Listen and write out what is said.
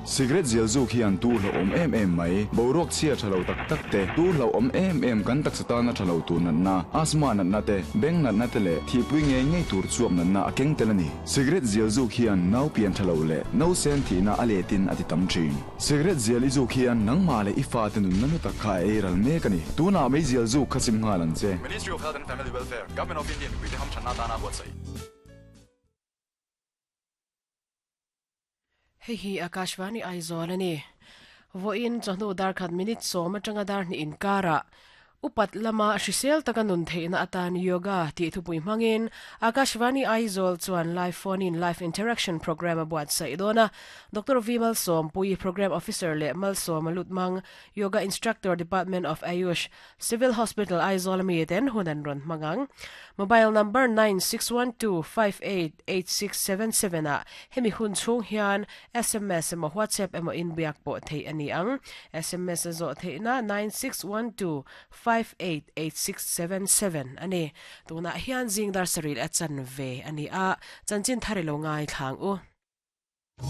Cigarette zial zuk hian tu hlauhawm em em mai, boruak chhia tha lo tak tak te, tu hlauhawm em em kan taksa tana tha lo tur natna, asthma natna te, beng natna te leh thihpui ngei ngei tur chuap natna a keng tel a ni. Cigarette zial zuk hian nau pian tha lo leh nausen thihna a letin a ti tam thin. Cigarette zial i zuk hian nangmah leh i fate nunna hlu tak kha a ei ral mek a ni. Tunah meizial zuk kha sim nghal ang che. Ministry of Health and Family Welfare, Government of India mipuite hamthanna atana buatsaih. Hei hi Akashvani Aizawl a ni. Vawiin chawhnu darkhat minute sawm atanga dar hnih inkarah upat lama hrisel taka nun theihna atan Yoga tih thupui hmangin Akashvani Aizawl chuan live phone in live interaction programme a buatsaih dawn a. Doctor V Malsawmpui, Programme Officer leh Malsawma Lutmang, Yoga Instructor Department of Ayush, Civil Hospital Aizawl ami ten hun an rawn hmang ang. Mobile number 9612588677 ah hemi hun chhung hian sms emaw WhatsApp emaw inbiak pawh theih a ni ang. Sms a zawh theihna 9612588677 a ni. Tunah hian zing dar sarih leh a chanve a ni a, chanchin thar i lo ngaithla ang u.